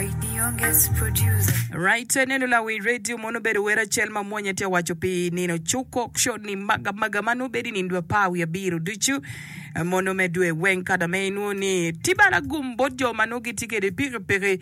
The youngest producer. Right, neno lawi radio mono obedo wer acel ma mwonya tye waco pi nino cuko ni maga maga ma nongo bedo i nino dwe apar wiye abiro ducu mono me dwe weng kada me inwongo ni tye bene gum bot jo ma nongo gitye kwede pikipiki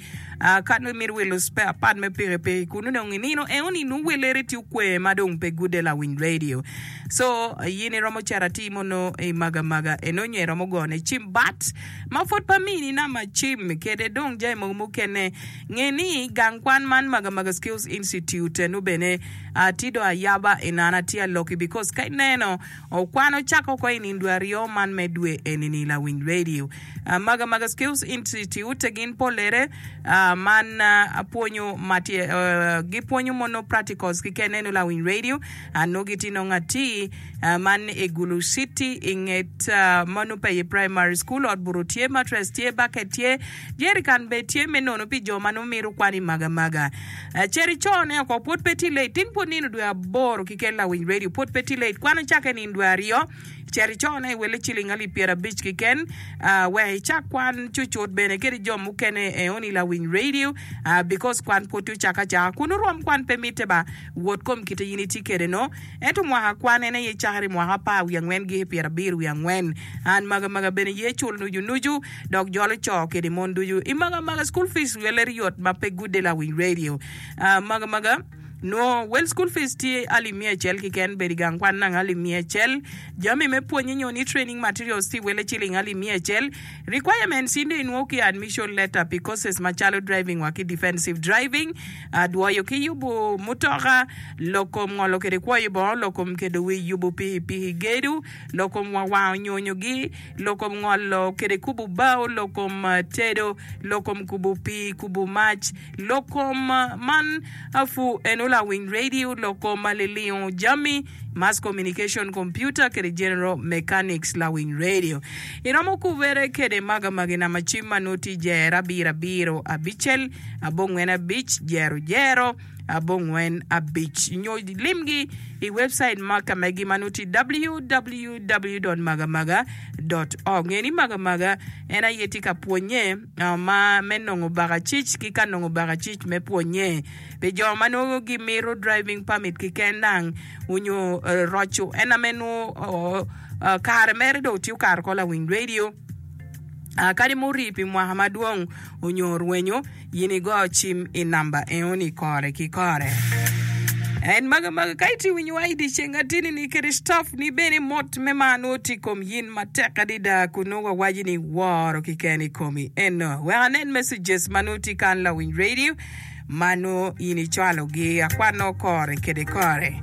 ka nongo imito wilo spare part me pikipiki kun nongo inino eno ni nongo welere tye okwe ma dong pe gude lawiny radio so in iromo cito atir mono i maga maga eno nyo iromo gone cim bat ma pwod pe amini namba cim kede dong jami mogo mukene. Nge ni gang kwan man Magamaga Skills Institute eno bene tye dong ayaba inana atye aloki because ka ineno kwan ocake oko i nindo aryo man me dwe eni ni lawiny radio. Magamaga Skills Institute gin polere man pwonyo ma tye gipwonyo mono practicals keken eno lawiny radio nongo gitye nongo atir man i Gulu City i nget ma nongo pe iye primary school ot buto tye mattress tye bucket tye Jerican bene tye me nono pi jo ma nongo mito kwan i magamaga. Cit icone oko, pwod pe tye late. Tin pwod nino dwe aboro kiken lawiny radio, pwod pe tye late. Kwan ocakke nino dwe aryo, cit icone i welle ciling alip pyerabic kiken, wek icak kwan cucut bene kede jo mukene eoni lawiny radio, because kwan pwod tye ocakke acaka. Kunu rwom kwan pe mitte ba, wot kom kite in itye kede no. Ento mwaka kwan en aye cakere i mwaka apar wiye angwen giki pyerabiro wiye angwen. An magamaga bene ye cul nucu nucu. Dok jolo co kede mon ducu i maga maga school fees weler yot ma pe gude lawiny radio maga maga nwo wel school fees tye alip miya acel kiken bedo i gang kwan nang alip miya acel jami me pwonye nyo ni training materials tye wele ciling alip miya acel requirements in dong inwo ki admission letter pi courses macalo driving wa ki defensive driving dwoyo ki yubu mutoka lok kom ngolo kede kwoyo bongo lok kom kedo wic yubu pikipiki gedo lok kom wa wango nyonyogi lok kom ngolo kede kubo bao, lok kom tedo, lok kom kubo pii, kubo mac, lok kom man apu eno lawiny radio, lok kom lilingo jami, mass communication, computer kede general mechanics lawiny radio. Iromo kubere kede maga magi nama cim ma nongo tye jero abiro abiro abicel abongwen abic jero jero. abongwen abic nyo limgi i webcait ma ka megi ma nongo tye www.magamaga.org. Nge ni Magamaga en aye tye ka pwonye ma me nongo bakacic ki ka nongo bakacic me pwonye pi jo ma nongo gimito driving permit keken dang onyo roco en ame nongo kare mere dong tye okato oko lawiny radio. Kadi ma orii pi mwaka madwong onyo orwenyo, in igo cim i namba enoni kore ki kore. En maga maga ka itye winyo wa i dyeceng atini ni kede staff ni bene mot me mar nongo tye i kom yin matek adada kun nongo wawaci ni woro kiken i komi eno. Wek anen messages ma nongo tye kan lawiny radio ma nongo in icwalo gi akwano kore kede kore.